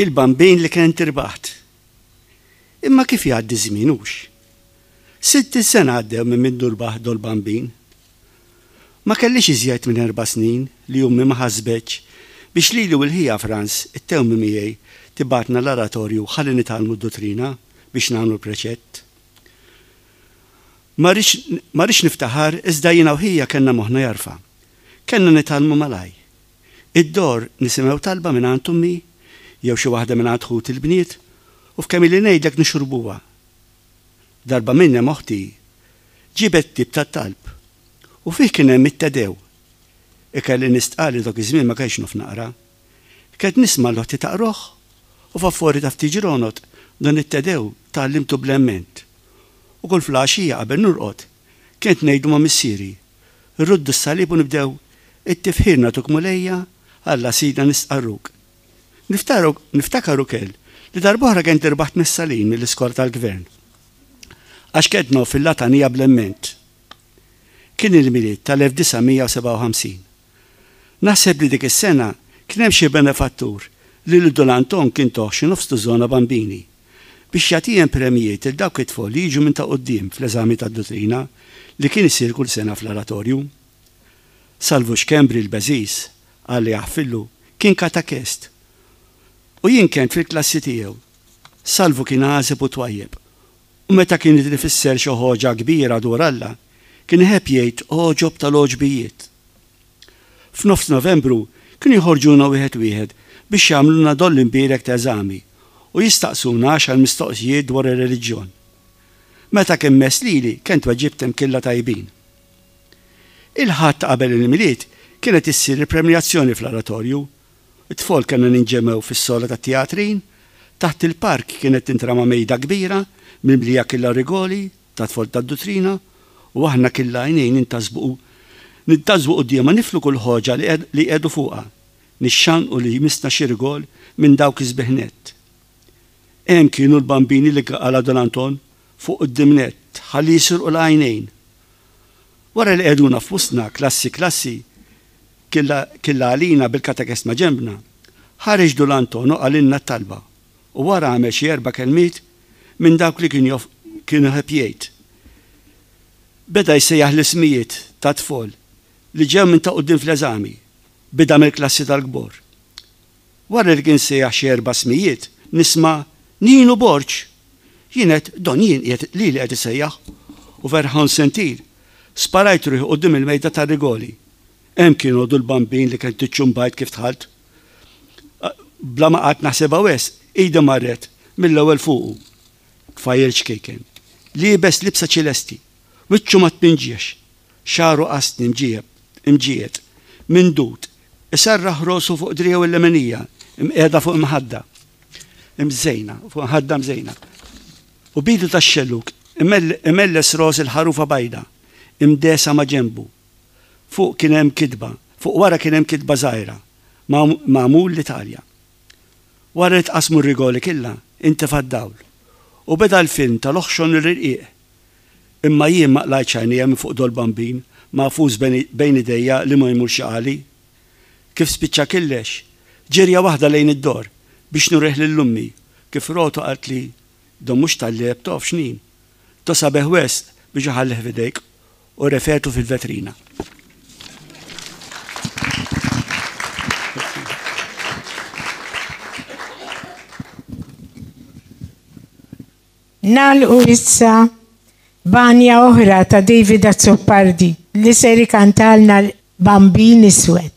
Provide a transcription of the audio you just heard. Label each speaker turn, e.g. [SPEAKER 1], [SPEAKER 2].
[SPEAKER 1] Il-Bambin li kent irbaħt. Imma kif jgħaddi ż-żmien hux? 60 sena għaddew minn mindu rbaħt dol-Bambin. Ma kellix iżjed minn erba' snin li ommi ma ħasbetx biex lili u l-ħija Frans, it-tewmi miegħi, tibgħatna l-aratorju ħalli nitgħallmu d-duttrina biex nagħmlu l-preċett. Ma rridx ma rridx niftaħar iżda jiena u ħija kellna moħħna jarfa'. Kellna nitgħallmu malajr. Id-dor nisimgħu talba mingħand ommi jew xi waħda mingħand ħuti l-bniet u f'kemm ili ngħidlek nixorbuha. Darba minnhom oħti ġiebet ktieb tat-talb u fih kien hemm it-Te Deu. Ikelli nistqarr li dak iż-żmien ma kenx naf naqra. Kent nisma' 'l oħti taqroh u f'affori ta' ftit ġronot dan it-Te Deu tgħallimtu bl-emment. U kull flgħaxija qabel norqod kent ngħidu ma' missieri, Irruddu s-salib u nibdew, It-tifħir nagħtuk Mulejja, Alla Sidna nistqarruk. Niftakar ukel li darb'oħra kent irbaħt messalin mill-iskola tal-gvern. Għax kent nof il-latanija bl-emment. Kien il-Milied tal-1957. Naħseb li dik is-sena kien hemm xi benefattur li lil Dun Anton kien toh xi nofs tużona bambini biex jagħtihem premjijiet lil dawk it-tfol li jiġu minn ta' quddiem fl-eżami tad-duttrina li kien isir kull sena fl-Oratorju. Salvu Schembri l-Beżiż, Alla jaħfirlu, kien katakest u jien kent fil-klassi tiegħu. Salvu kien għażeb u twajjeb u meta kien irid ifisser xi ħoġa kbira dwar Alla, kien iħebb jgħid għoġob tal-għoġbijiet. F'nofs Novembru kienu joħorġuna wieħed wieħed biex jagħmlulna doll imbierek ta' eżami u jistaqsuna għaxar mistoqsijiet dwar ir-reliġjon. Meta kien mess lili kent weġibthom killa tajbin. Il-Ħadd ta' qabel il-Milied kienet issir il-premjazzjoni fl-Oratorju. It-tfol kellna ninġemgħu fis-sola tat-teatrin. Taħt il-park kienet tintrama mejda kbira mimlija killa rigoli tat-tfol tad-duttrina u aħna killa għajnejn nintasbu nintasbu quddiemha niflu kull ħoġa li li jqiegħdu fuqha, nixxannqu li jmissna xi rigol minn dawk is-sbieħ nett. Hemm kienu l-bambini li qala' Dun Anton fuq quddiem nett ħalli jisirqu l-għajnejn. Wara li qegħduna f'wustna klassi klassi, killa killa għalina bil-katekest maġenbna, ħareġ Dun Anton u qalilna t-talba u wara għamel xi erba' kelmiet minn dawk li kien jof kien iħobb jgħid. Beda jsejjaħ l-ismijiet tat-tfol li ġew minn ta' quddiem fl-eżami, bida mill-klassi tal-kbor. Wara li kien sejjaħ xi erba' ismijiet, nisma' Ninu Borg! Jien għedt, Don jien qiegħed lili qed isejjaħ u ferħan se ntir. Sparajt ruħi quddiem il-mejda tar-rigoli. Hemm kien għodu l-bambin li kent iċċumbajt kif dħalt. Bla ma qgħadt naħsibha wisq, idi marret mill-ewwel fuqu. Tfajjel ċkejken. Liebes libsa ċilesti. Wiċċu ma tpinġiex. Xagħru qasni mġiegħeb, imġiegħed, mindud, iserraħ rosu fuq driegħu l-leminija, imqiegħda fuq imħadda mżejna, fuq imħadda mżejna. U b'idu tax-xellug imelles ros il-ħarufa bajda, imdegħsa ma' ġenbu. Fuq kien hemm kitba, fuq wara kien hemm kitba żgħira, Magħmul l-Italja. Wara li tqassmu r-rigoli killa, intefa' d-dawl. U beda l-film tal-oħxon l-irqiq. Imma jien ma qlajtx għajnejja minn fuq dol-bambin magħfus bejn idejja li ma jmurx jaqagħli. Kif spiċċa killex, ġirja waħda lejn id-dor biex nurih lil ommi kif rotu qaltli, Don mhux tal-lgħeb tof x'nin. Do sabiħ wisq biex iħallih f'idejk u refetu fil-vetrina.
[SPEAKER 2] Nagħlqu issa b'għanja oħra ta' David Azzopardi li ser ikantalna l-Bambin Iswed.